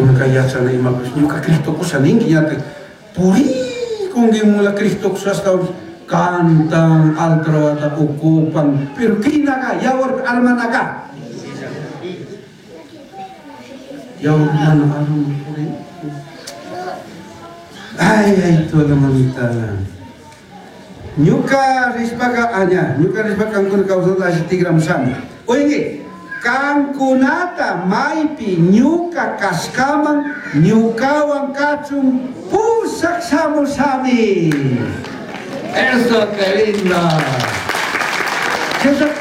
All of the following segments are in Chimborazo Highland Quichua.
Kunanka yachana imapish ñuka Cristo kusha ninki ñatak purikun mula Cristo kushashka cantan altarwata ocupan pero kinaga yawar armanaga yawar mana arma puri. Ay, ay, toda mamita. Ñuka rishpaka aña, ñuka rishpaka kankuna kawsata alli tikramushami. Oye, kankunata maypi ñuka kashkaman ñukawan kachun pushak shamushami. Eso, qué lindo. Jesús,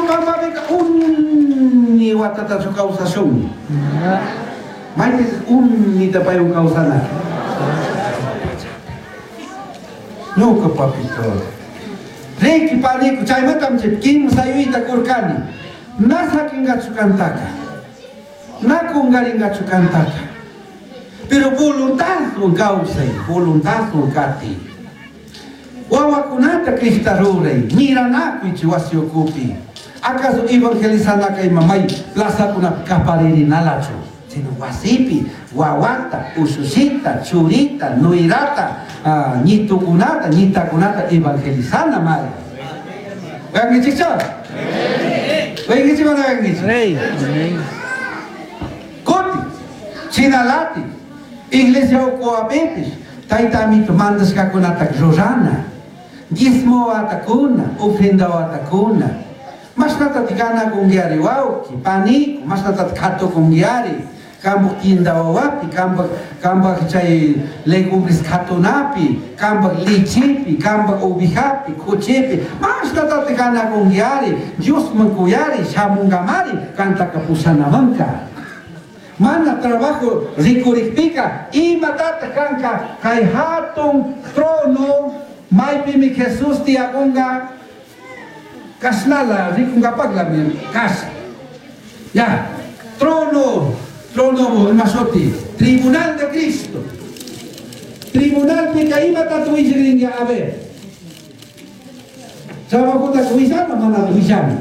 Pamapika uni watatachu kawsashun. Maypi unita paywan kawsana. Ñuka papito. Riki paniku chaymantam chay kimsa yuyta kurkani. Na sakingachu kantaka. Na kungaringachu kantaka. Pero voluntadwan kawsay, voluntadwan kati. Wawakunata Crista ruray, miranakuychi wasi ukupi. Acaso evangelizanaka ima may plazakunapi kaparirinalachu, sino wasipi wawata, usushita, churita, nuirata, ñitukunata, ñitakunata evangelizana mari. Uyankichikchu? Uyankichik mana uyankichik? Kuti, chinalati, iglesia ukuwapipish, tayta amito mandashkakunata rurana, diezmo watakuna, ofrenda watakuna, mashnatati ganakunkiari wawki, paniku, mashnatati katukunkiari, kampak tienda wawapi, kampak chay legumbres katunapi, kampak lechepi, kampak ovejapi, kuchipi, mashnatati ganakunkiari, Diosman kuyari, shamunkamari, kantaka pushanamanka. Mana trabajo rikurikpika, imatata kanka kay hatun trono maypimi Jesús tiyakunka kashnala rikunkapaklami kas. Ya, trono, trono imashuti, tribunal de Cristo. Tribunal pika imatata willikrinka, a ver. Trabajota willana mana willana.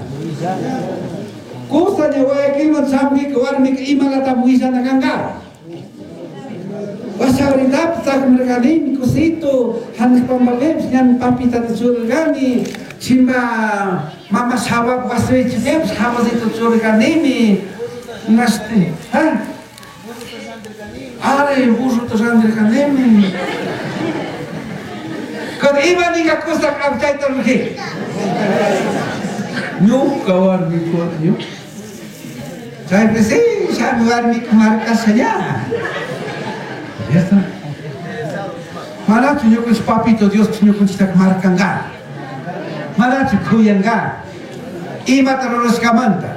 Kusa ña Guayaquilman shamunka warmika imalata willana kanka. Washauritapi sakmirkanimi kusito, hanaq pampapipish ñami papitata churarkani, chimba mama shawap wasipipish jabasito churarkanimi, imashti, ha? Are, burrota randirkanimi. Cuando iba ninga kusa chayta rurajika. Ñuka warmiku, ñuka. Chaypi sí, shami warmiku markasha ña. ¿Cierto? Manachu ñukanchik papito Dios ñukanchiktaka markanka. Manachu kuyanka. Imata rurashkamanta.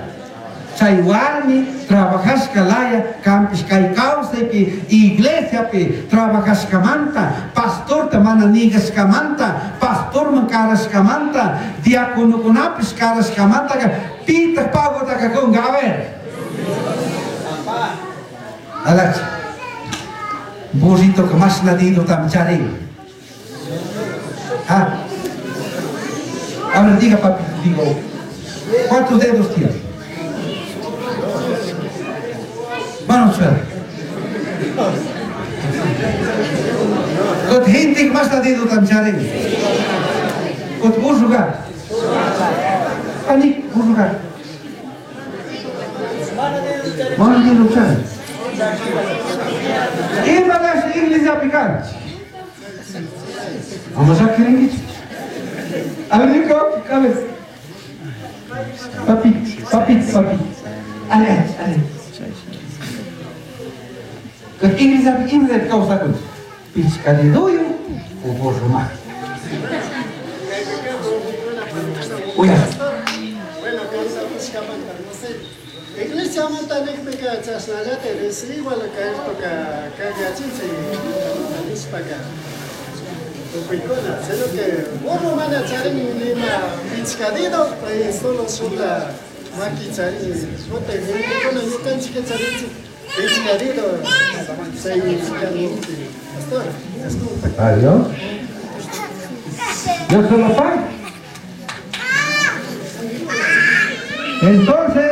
Chay warmi trabajashka laya kampish kay kawsaypi iglesiapi trabajashkamanta, pastorta mana nigashkamanta, pastorman karashkamanta, diaconokunapish karashkamantaka pitaq pagotaka kunka, a ver. Alachi. Burritoka mashna dedotami charin. Ah. A ver, diga papi, digo, ¿cuántos dedos tiene? Bueno, suerte. Kot hintik mashna dedotami charin. Kot burruka. Ani, burruka. Mana dedo charin. Imatash iglesiapi kanchik. Vamos a kirinkichik. A ver, ñuka a ver. Papi, papi, papi. Ale, ale. Kot iglesiapi iglesiapi kawsakunchik. Pichka dedoyuq o burro maki. Uya. Bueno, kawsakushkamanta, no sé. Iglesiamanta niqpika chashnallata igual kaytoka kagachinchik nishpaka tukuykuna, sino que burro mana charin nima pichka dedo, pay solo shuta maki charin, shuta gentekuna ñukanchik charinchik pichka dedo, chay kanukpi. Pastor, disculpa. Adiós. Dios se lo pague. Entonces,